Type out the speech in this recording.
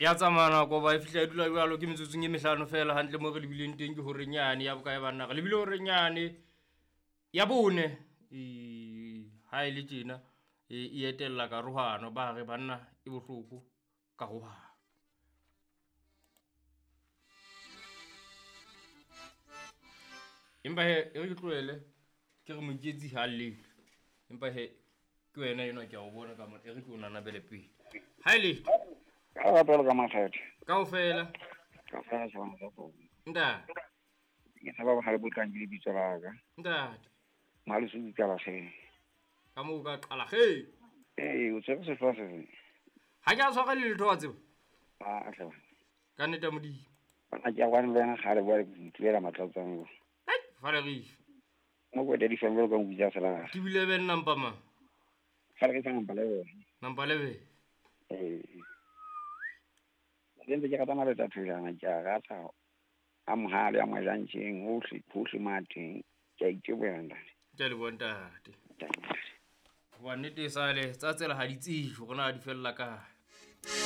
Ya tsamaya nako ba e fihla e dula jwalo ke metsotsong e mehlano fela hantle mo re lebileng teng ke horeng yane ya bokae banna re lebile horeng yane ya bone. Ha e le tjena e etella karohano ba re banna e bohloko karohano. Empa he e re ke tlohele ke re Moiketsi ha llele. Empa he ke wena enwa ke a o bona ka mona e re ke o nanabele pele. Ha e letho. Ka lerato ka makgethe. Kaofela. Kaofela tjhabana tsa tsona. Ntate. Ke tshaba bohale bo tlang ke lebitso la ka. Ntate. Mohaleso o qala kge. Ka moo o ka qala kge. Ee, o tshwere sehlooho se feng? Ha ke a tshwara le letho wa tseba. Ah, hle. Ka nnete ya Modimo. Bona ke a kwane le wena kgale bua ke itulela matlatsang. Ai, Valerie. Mo ko daddy fang jwalo ka nku tsa selaga. Ke bile ben nampa mang? Fale ke sa nampa le wena. Nampa le be. Ee. Ke ntse ke rata maleta thojana ke a rata a mohale a mojantjeng hohle hohle mo a teng. Ke a iteboha ntate. Ke a leboha ntate. Hoba nnete e sale tsa tsela ha di tsejwe hore na di fella kae.